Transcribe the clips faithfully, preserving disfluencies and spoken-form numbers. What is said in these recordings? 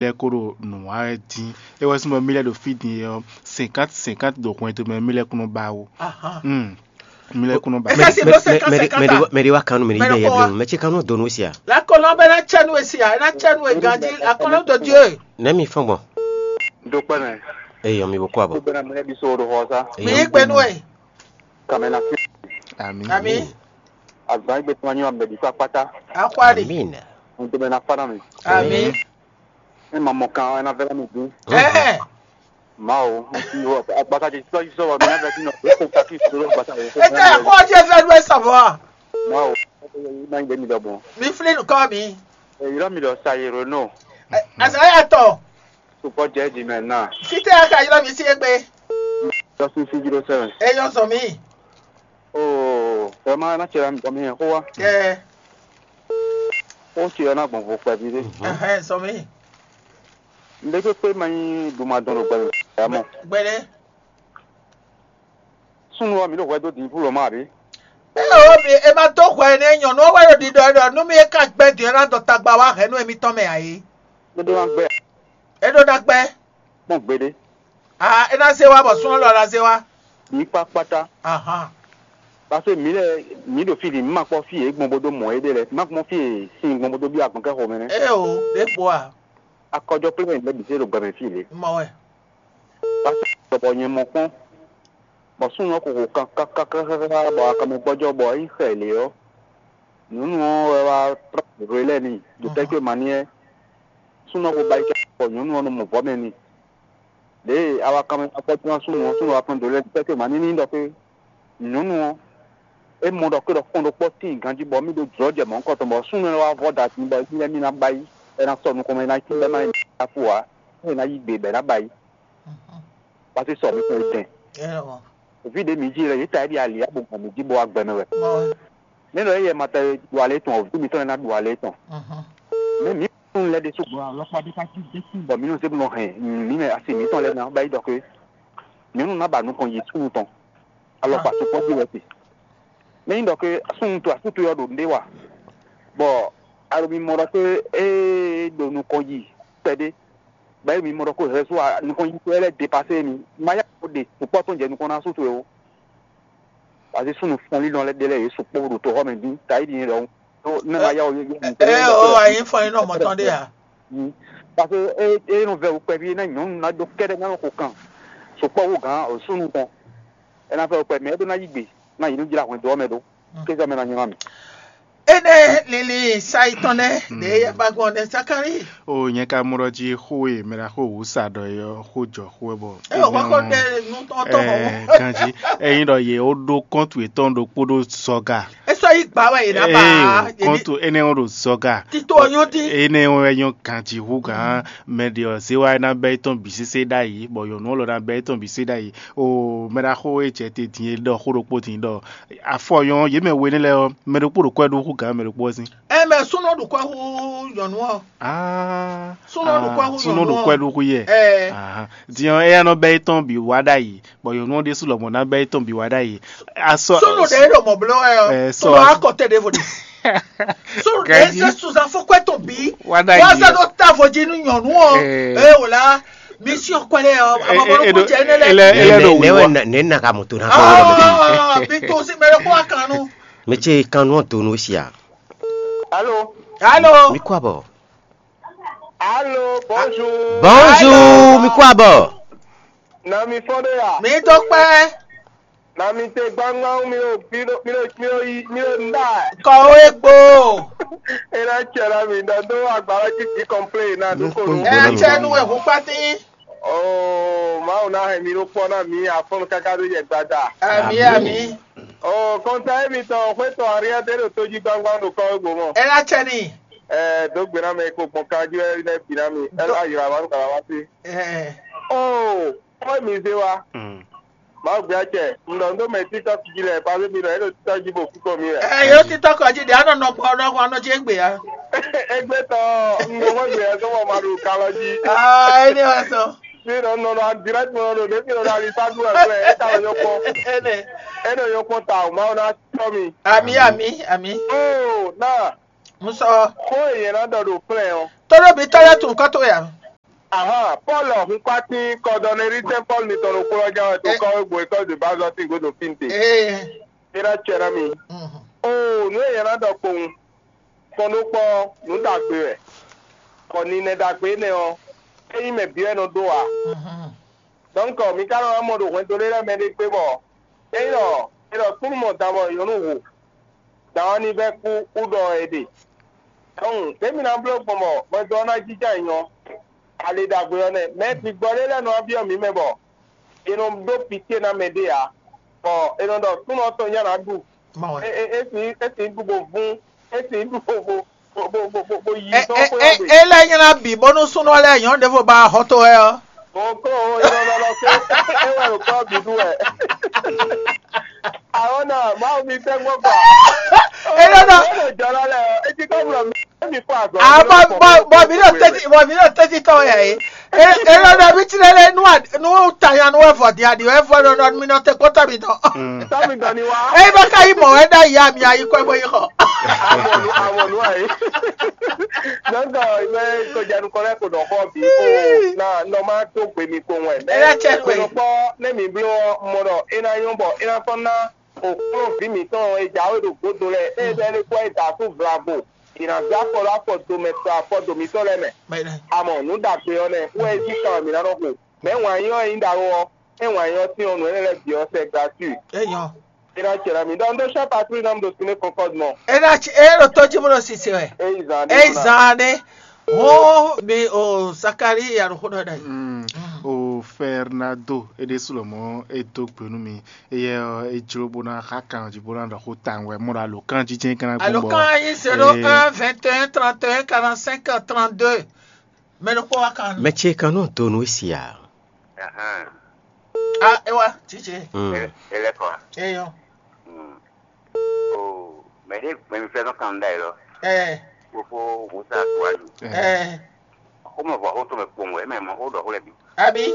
lɛ́ɛ ko ɖo nǔ wa wɛ dín. É wɛ sín bɔ mí lɛ́ɛ ɖo fí din é ɔ́, cinquante cinquante ɖo hwɛndo mɛ mí lɛ́ɛ kún nɔ ba ó. Ahan. Hmm. Mí lɛ́ɛ kún nɔ ba. É ka si bló cinquante cinquante a? Mɛɖé wa kan nú mɛ ní Mɛ yɛ ɖokpó wa. Bló mɛ ce kan nú donu sia. La kɔlɔn bɛ na cɛ nú esi a, na cɛ nú e ganji, la kɔlɔn de Dieu. Nɛ mi fɔn gbɔn. Dokpɛnɛ. Eyɔ mi bo kɔ abɔ. Bɛnɛ mɛ bi so ɖo xɔ sa. Mi yi gbe nú ɛ. Kàmɛ na fi. Ami. Ami. Azan igbe tuma nyɔ mɛ bi sa kpata. Akwari. Amin. Ntɛmɛ na fa na mi. Ami. E ma mɔ kan ena vɛ na mi din. Eh. Mawu, agbata dzi tɔ sɔ wa mi na vɛ ti nɔ. E ko kaki so lo gbata o. Ete ko je vɛ do e sɔbɔ. Mawu, ma nyi mi dɔ bɔn. Mi fli nukɔ mi. E yɔrɔ mi dɔ sa yero no. Azaya tɔ. Sukɔ jɛ di mɛ na. Fite aka yɔrɔ mi si egbe. Dɔ si si zero seven. Eyɔ zɔ mi. Oo, vraiment, ná tse mi bɔ mi hɛn xó wa. Ɛ. Xó tse ɔ́ ná gbɔn vo kpɛví ɖé. Ɛhɛn, sɔ mi. Nɖé kpékpé ma nyí ɖumadɔn ɖo gbɛmɛ. Ɛ mɔ. Gbɛɖe. Súnnu ɔ́, mi ɖo hwɛ dó din fúlɔ ma àbí? Ɛ o mi, e ma dó hwɛ nɛ nyɔ̌nu ɔ́ wɛ ɖo ɖiɖɔ ɛ ɖɔ nú mi e ka gbɛ din ɔ́ ná dɔ tagba wá hɛ̌nnu émítɔn mɛ ǎ é. Ɖé ɖó ná gbɛ. É ɖó ná gbɛ. Kpɔ́n gbeɖé. Ah, é ná zé wá bɔ súnnu lɔ ná zé wá. Mǐ kpá kpátá. Ahan. Parce que mǐ lɛ́ɛ mǐ ɖo fí din, mǐ ma kpɔ́ fí e gbɔn bó dó mɔ éɖée lɛ́ɛ, mǐ ma kpɔ́ fí e sin gbɔn bó dó byɔ́ agɔnkɛ́ xomɛ nɛ́. É o, ɖěvo a. Akɔjɔkplé mɛ lɛ́ɛ bǐ zé ɖo gbɛmɛ fí lě. Mɔ wɛ. Parce que bɔ nyɛ mɔ kpɔ́n, bɔ súnnu ɔ́ xo xo kankankankan bɔ akanmɛ gbɔ́jɔ́ bɔ é yi xɛ lě ɔ́, nyɔ̌nu ɔ́ wɛ wá trɔ́ hwě lɛ́ɛ n'i ɖo tɛ́ ce ma ní ɛ. Súnnu ɔ́ xo ba yi kɛ bɔ nyɔ̌nu ɔ́ nɔ mɔ vɔ̌ mɛ n'i. Ɖěe awakanmɛ akpɔ́ tɔn súnnu ɔ́, súnnu ɔ́ wá kpɛn do lɛ́ɛ tɛ́ ce ma ní ní ɖɔ xwé. Nyɔ̌nu ɔ́, é mɔ ɖɔ xwé ɖɔ kpɔ́n ɖokpó tíin ganjí bɔ mì ɖó jlɔ̌ jɛ mɔ̌hunkɔ tɔn bɔ súnnu ɔ́ wá vɔ́ da din bɔ émí lɛ́ɛ mì ná ba yi, é ná sɔ́ nukɔn mɛ é ná cí bɛ́ má yi ná fo ǎ, é ná yí gbe bɔ é ná ba yi. Paseke sɔ mi kún dɛn. Vǐ ɖé mǐ jí lɛ, yě ta é ɖi ali abo gbɔn mǐ jí bo wá gbɛ mɛ wɛ. Nɛ́ ɖɔ éyɛ́ ma ta ɖu alě tɔn, vǐ mitɔn lɛ́ɛ ná ɖu alě tɔn. Mɛ mǐ kún lɛ́ ɖésú gbɔn alɔkpa ɖé ká jí désú bɔ mǐ nɔ zé bó nɔ hɛn mǐ mɛ asi mǐtɔn lɛ́ɛ ná ba yi ɖɔ xwé. Nyɔ̌nu ná ba nukɔn yi súnnu tɔn. Alɔkpa sukpɔ́ jí wɛ se. Mɛ nyí ɖɔ ke súnnu to asú towe ɔ́ ɖo nǔɖé wa, bɔ a ɖo mimɔ ɖɔ ke é ɖo nukɔn yi kpɛɖé, bɔ é ɖo mimɔ ɖɔ ko hɛ̌ sú nukɔn yi towe lɛ́ɛ depasé mi. Ma yá ko ɖe sukpɔ́ tɔn jɛ nukɔn ná asú towe ó. Wazí súnnu fɔnlínnɔ lɛ́ɛ ɖé lɛ́ɛ yě sukpɔ́ ɖo toxɔ mɛ dín, tayi ɖi nyɛ ɖɔhun. Tó ne ma yá o yé yé. Ɛ o, ayi fɔnlínnɔ mɔtɔn ɖé a? Parce que é é nɔ vɛ wú kpɛví ná nyɔ̌nu ná ɖó kɛ́ɖɛ́ ná xo kan sukpɔ́ wú gǎn o súnnu tɔn. É ná vɛ wú kpɛví mɛ é ɖó ná yí gbe ná yi nú jlá hwɛndo ɔ́ mɛ ɖó. Kézɔ mɛ ná nylá mì. Énɛ́ lili sayi tɔn nɛ́ ɖě yɛ ba gbɔn nɛ́ Zakalíi. O nyɛ ka mɔ ɖɔ jí xó e mɛ ɖaxó wǔ sa ɖɔ é ɔ́ xó jɔ xó wɛ bɔ. É wɔ kɔkɔ ɖe nu tɔn tɔn mɔ. Ganjí, ényí ɖɔ yě ó ɖó kɔ́ntu yětɔn ɖokpó ɖó zɔga. É sɔ́ yí gbǎ wɛ yě ná ba. Kɔ́ntu énɛ́ ɔ́ ɖo zɔga. Tito ɔ́ nyɔ́ dín. Énɛ́ ɔ́ wɛ nyɔ́ ganjí hú gǎn. Mɛ ɖě ɔ́ zé wá ná bɛ́ étɔn bǐ sésé ɖ'ayǐ, bɔ nyɔ̌nu ɔ́ lɔ ná bɛ́ étɔn bǐ sésé ɖ'ayǐ. O mɛ ɖaxó e jɛ te din e ɖɔ xó ɖokpó din ɖɔ afɔ nyɔ́ yě mɛ we nɛ́ lɛ́ɛ ɔ́, mɛ ɖokpó ɖo kwɛ́ ɖó hú gǎn mɛ ɖokpó ɔ́ sín. Ɛ mɛ súnnu ɖo kwɛ́ hú nyɔ̌nu ɔ́. Ah, súnnu ɖo kwɛ́ hú súnnu nyɔ̌nu ɖo ɔ́. Kwɛ́ ɖó hú yɛ. Ɛ. Ahan. Din ɔ́, éyɛ́ nɔ bɛ́ étɔn bǐ wá ɖ'ayǐ, bɔ nyɔ̌nu ɔ́ ɖésú lɔmɔ̌ ná bɛ́ étɔn bǐ wá ɖ'ayǐ. Asɔ. Súnnu ɖě ɖo mɔ̌ bló wɛ ɔ́. Ɛ, sɔ tó wá kɔ tɛ ɖěvo ɖe. Súnnu ɖě Ganjí. Zé suzan fún kwɛ́ tɔn bǐ. Wá ɖ'ayǐ. Wá zɛ ɖó távo jí nú nyɔ̌nu ɔ́. Ɛ. Ɛ wò lá, mi sí ɔkɔ lɛ ɔ́, Ɛ, àmọ́ ɛ, bọ́lú ɛ, kó jɛ énɛ́ lɛ. Ɛ, ɛ, ɛ, ɛ, ɖo nɛ wíwá. Wɛ nɛ nɛ ka mɔ to na kɔ wɛ mɛ. Ah, mi tó sí mɛ ɖé kó wá kan nú. Mɛ ce kan nú ɔ́ do nú sia. Alo. Alo. Mi kó abɔ. Alo, bonjour. Bonjour, mi kó abɔ. Na mi fɔn ɖe ya. Mi tó kpɛ. Na mi te gbangban mi ɖo mi ɖo mi ɖo mi ɖo yi mi ɖo nda. Kɔwé gbo. E na cɛ na mi ɖɔ do agbala titi kɔnplé na do ko nu. Ɛ cɛ nu wɛ hu kpati. Oo, Mawu na hɛn mi ɖo kpɔ na mi afɔnu kaka ɖo yɛ gbada. Ami ami. Oo, kɔnta emitɔn xwetɔ ariɛ de ɖo toji gbangban ɖo kɔwé gbo mɔ. Ɛ na cɛ ni. Ɛɛ, dǒ gbe ná mɛ e ko gbɔn kan jí wɛ nɛ́ bǐ ná mi. Ɛ á yrǎ wá nú kàlá wá sí. Ɛɛ. Oo, xɔ mi zé wa. Mawu gbé acɛ, un ɖɔ un ɖó mɛ títɔ́ jí lɛ, pa mi nɔ é ɖo títɔ́ jí bó kú kɔ mi wɛ. Ɛ yóò títɔ́ kɔ jí ɖe anɔ nɔ gbɔ nɔ gbɔ nɔ jí égbé ya. Égbé tɔ, un ɖo xɔ gbé yɛ sɔmɔ ma ɖo kalɔ jí. Aa, é ní wá sɔ. Mi nɔ nɔ nɔ direct nɔ ɖo ɖe mi nɔ ali sa ɖu ɛgbɛ, é ta nɔ nyɔ kpɔn. Énɛ́. É nɔ nyɔ kpɔn ta o, Mawu ná tɔ mi. Ami ami ami. Oo, na. Musɔ. Xó e yɛn ná ɖɔ ɖo plɛn ɔ. Tɔɖɔ bi tɔɖɔ tun kɔtɔ ya. Ahan, Pɔ́lu ɔ́ hun kpátín kɔdɔnɛrísɛn Pɔ́lu mitɔn ɖokpó ɔ́ ján wɛ to kɔ́wé gbo école de base ɔ́ sín gǔdo fínte. Ee. É ná cɛ ná mi. Mhm. Oo, nǔ e nyɛ ná ɖɔ kpowun. Kpɔ́n ɖó kpɔ́, nǔ ɖagbe wɛ. Bɔ ninɛ ɖagbe énɛ́ ɔ́, é nyí mɛ bǐ wɛ nɔ ɖó ǎ. Mhm. Donc, mi ka nɔ wá mɔ ɖo hwɛndo lé lɛ́ɛ mɛ ɖé gbé bɔ é ɖɔ é ɖɔ kúnnu mɔ dan bɔ nyɔ̌nu hu. Dan ɔ́ ní vɛ́ kú kú ɖɔ è ɖe. Donc, ɖěmi ná bló gbɔn bɔ hwɛndo ɔ́ ná jínjɔ́n ayǐ ɔ́, ali ɖagbe ɔ́ nɛ́. Mɛ bigbɔ ɖé lɛ́ɛ nɔ wá byɔ́ mǐ mɛ bɔ è nɔ ɖó pitié ná mɛ ɖé ǎ, bɔ è nɔ ɖɔ súnnu ɔ́ tɔn nyá ná ɖu. Mɔ wɛ. É é é sǐ é sǐ ɖu bo vún, é sǐ ɖu bo bo bo bo bo bo yi Ɛ sɔ́ ɛ xwé ɛ ɔ́ gbe. É lɛ́ nylá bǐ bónú súnnu ɔ́ lɛ́ɛ nyɔ̌nu ɖěvo ba hɔn to wɛ ɔ́. Bɔn kó o é nɔ lɔ lɔ kó é wɛ ɖo kɔ́ bǐ ɖu wɛ. Àwọn náà máa mi tẹ́ gbọ́ gbà. É ló dɔ. Ó lè jọ lálẹ́ ẹ̀ ẹ́ jí kọ́ mọ̀ mí mi fún àgọ́. Ah, bɔ bɔ bɔ mi ɖo tɛti bɔ mi ɖo tɛti tɔ ya ye. E e lɔ ɖɔ mi ti lɛ lɛ nu a nu ta ya nu wɛ vɔ di adi wɛ vɔ lɔ lɔ mi nɔ te kpɔtɔ mi dɔn. Tọ́ mi dɔn ni wá. E bɛ ka yi mɔ wɛ da ya mi ayi kɔ bɔ yi xɔ. Amɔnu amɔnu ayi. Donc, mɛ kojanu kɔ lɛ ko dɔ xɔ bi ko na nɔ ma to gbe mi ko wɛ. E la cɛ gbe. Kpɔ ne mi blo mɔ dɔ e na nyɔ bɔ e na tɔn na okplɔ́nví mǐtɔn e jǎwe ɖo gǒdo lɛ́ɛ, ée bɛ́ lɛ́ kɔ é da asú vlavo, è nǎ zé afɔ ɖó afɔ do mɛ kplá afɔ do mǐtɔn lɛ́ɛ mɛ. Amɔ nǔ ɖagbe ɔ́ nɛ́, wɛ é cí kan wɛ mǐ ná nɔ xo. Mɛ̌ wǎn yí ɔ́ e nyí ɖaxó ɔ́, é wǎn yí ɔ́ sín ɔ́, nǔ énɛ́ lɛ́ɛ bǐ ɔ́ sɛ gratuit. É nyɔ́. É ná ce ná mǐ ɖɔ un ɖó chá patrouille ná mu ɖo Ciné Concorde mɔ. É ná ci é ɖo tó jí bó ɖo sise wɛ. É yi zan É ɖé yi ná. Zan ɖé. Hɔn mi o Zakari ya ɖo xó ɖɔ ɖe. Mm. O Fernando, é ɖésú lɔmɔ̌ é dó gbe nú mi. Éyɛ́ ɔ́, é jló bó ná xá kan jí bó ná ɖɔ xó tawun wɛ, mɔ ɖo alǒkanjíjɛ kan ná gbɔn bɔ Alǒkan yí zéro un vingt et un trente et un quarante-cinq trente-deux. Mɛ ɖokpó wá kan. Mɛ ce kan nɔ do nú esi a? Ahan. A é wá, tsitsi. Mm. Ele kɔ. Eyɔ. Mm. O mɛ ɖé mɛ mi fẹ́ nɔ kan ɖa yi lɔ. Ɛ Fofo Musa Tuwaju. Ɛ Xɔmɔ vɔ xó tɔn mɛ kpɔn wɛ mɛ mɔ xó ɖɔ xó lɛ bi. Abi.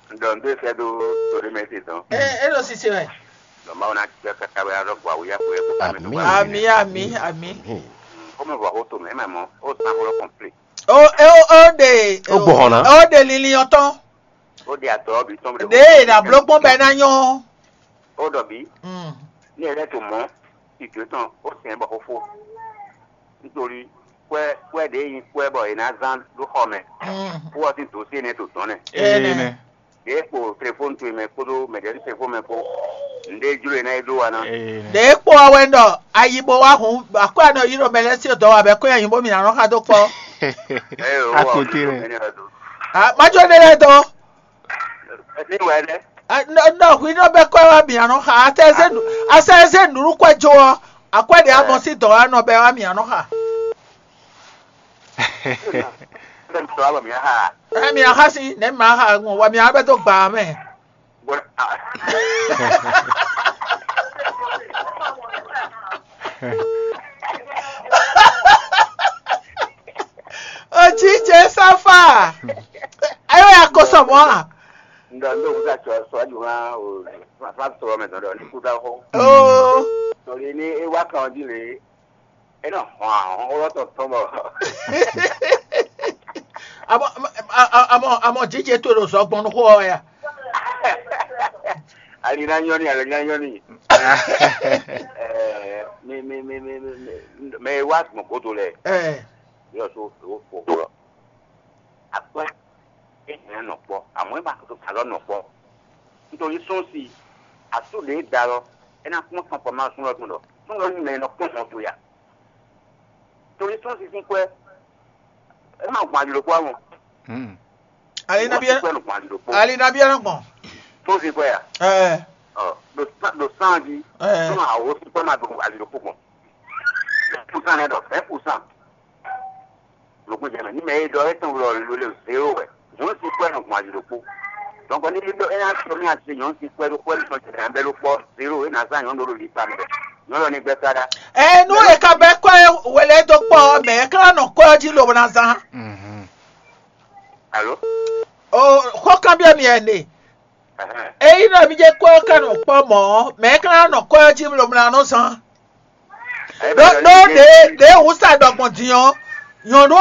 Ɖɔ n ɖe sɛ ɖo to ɖé mɛ se tɔn. Ɛ é ɖo sise wɛ. Ɖɔ Mawu ná gbɛ kaka wɛ alɔ gbɔ awu ya ko yɛ kó ká mɛ tó Amín. Ami ami ami. Xɔmɔ vɔ xó tɔn mɛ mɛ mɔ ó san xó lɔ kɔnplé. O é o ó ɖe Ó gbɔ hɔn ná. Ó ɖe linlin ɔtɔn. Ó ɖe adɔ bi tɔn. Ɖe na bló gbɔn bɛ na nyɔ. Ó ɖɔ bi. Mm. Ní ẹ lɛ tó mɔ ìjó tɔn ó sɛn bɔ xófó. Nítorí kwɛ kwɛ ɖě nyí kwɛ bɔ è nǎ zán ɖó xɔ mɛ. Mm. Kó ɔ sín dǒsí énɛ́ to dɔ̌n nɛ. Ene. Ɖě kpo telefóni towe mɛ kpódó mɛ̌ɖɛɖú telefóni mɛ kpó. Nǔɖé jló è ná yi ɖó wa ná. Ene. Ɖě kpó ɔ́ wɛ ɖɔ ayi bó wá hun akwɛ́ nɔ yi ɖo mɛ lɛ́ɛ sí dɔ̌ wa bɛ kó nyi bó mi ná nɔ xa dó kpɔ́. Ɛ o, Akote lɛ. Mɛ ní ɔ dó. Ah, má jó ɖé lɛ́ɛ dɔn. Ní wɛ dɛ. Nɔ hwi nɔ bɛ kɔ wa mi anɔ xa asɛ zé nu asɛ zé nunu kɔ jo ɔ akwɛ de amɔ si dɔ wa nɔ bɛ wa mi anɔ xa. Bɛ mi sɔ abɔ mi aha. Ɛ mi aha si ne ma ha ŋɔ wa mi aha bɛ to gba mɛ. Bɔ a. Otsitse safa. Ayo ya ko sɔmɔ a? Ŋdɔ ŋdɔ ŋdɔ atsɔ sɔ adu hã o fa sɔrɔ mɛ dɔn dɔ ní kú dá xɔ. Oo. Tɔli ní e wá kan ɔdí le. E nɔ hɔn ahɔn wɔ tɔ tɔn bɔ. Amɔ amɔ amɔ jijɛ to ɖo zɔ gbɔn xɔ ya. Ali na nyɔ ni, ali na nyɔ ni. Ɛɛ mi mi mi mi mi mɛ e wá gbɔn godo lɛ. Ɛɛ. Yɔ so o o o. Akpɛ e hɛn nɔ kpɔ, amɔ e ma to alɔ nɔ kpɔ. Nítorí sɔ́n si asú ɖě da lɔ, é ná kpɔ́n tɔn kpɔ má sún lɔ tún lɔ. Sún lɔ ní mɛ nɔ kpɔ́n hɔn to ya. Torí sɔ́n si sín kwɛ, é má gbɔn ali ɖokpó amɔ. Hmm. Ali Wọ́n nabi ti ẹran. Kwɛ nɔ gbɔn ali ɖokpó. Ali nabi ẹran gbɔn. Sɔ́n si kwɛ ya. Ɛ Ɔ, ɖo sán ɖo sán jí. Ɛ Sɔ́n awo sín kwɛ má gbɔn ali ɖokpó gbɔn. Fɛn kú sán nɛ ɖɔ, fɛn kú sán. Lɔ̌gbɔ́ jɛ mɛ. Ní mɛ e ɖɔ étɔn wlɔ lo le zéro wɛ. Nyɔ̌nu sín kwɛ́ nɔ gbɔn ali ɖokpó. Donc ní ɖɔ é ná sɔ́ mì asi nyɔ̌nu sín kwɛ́ ɖokpó é sɔ́ jɛ bɛ́ ɖokpó zéro é ná zán nyɔ̌nu ɖo lipa mɛ. Nyɔ̌nu ɔ́ ní gbɛ́ sá ɖá. Ɛ nú è ka bɛ́ kwɛ́ wele dó kpɔ́ ɔ́, mɛ̌ é ka ná nɔ kwɛ́ ɔ́ jí lobo ná zán? Mhm. Alo? O xó kanbyɔ́ mi ɛnɛ. Ényí nɔ mi jɛ kwɛ́ ɔ́ ka nɔ kpɔ́ mɔ̌ ɔ́, mɛ̌ é ka ná nɔ kwɛ́ ɔ́ jí lobo ná nɔ zán? Ɖó ɖó ɖě ɖě wǔ sa ɖɔ gbɔn din ɔ́, nyɔ̌nu